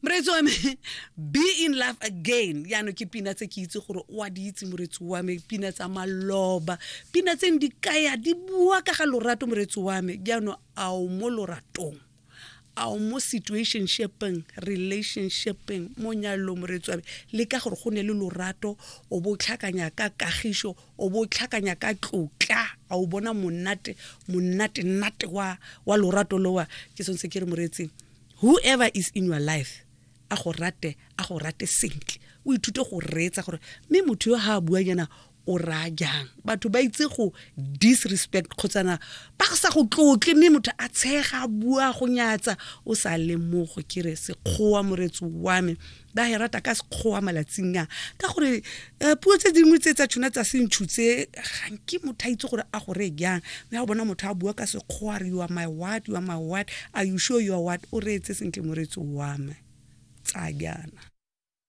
Moreetsi wa me, Be in Love Again. Jaanong ke pina tse ke itse gore o a di itse, moreetsi wa me, pina tsa maloba, pina tse di kaya di bua ka ga lorato, moreetsi wa me. Jaanong a o mo loratong, a o mo situationshipeng, relationshipeng, mo nyalong, moreetsi wa me, le ka gore go ne le lorato, o bo tlhakanya ka kagišo, o bo tlhakanya ka tlotla, a o bona monate, monate nate wa wa lorato lowa. Ke sone se ke re, moreetsi, whoever is in your life, a go rate, a go rate sentle. O ithute go reetsa gore mme motho yo ha a bua jaana o raya jang. Batho ba itse go disrespect kgotsana ba sa go tlotle, mme motho a tshega, a bua go nyatsa o sa lemogo. Ke re sekgowa, moretsi wa me, ba e rata ka sekgowa malatsing a, ka gore puo tse dingwe tse tsa tšhona tsa sentšhu tse ga nke motho a itse gore a go reye jang. Mme ga o bona motho a bua ka sekgowa, re you are my what, you are my what, are you sure you are what? O reetse sentle, moretsi wa me, tsa jaana.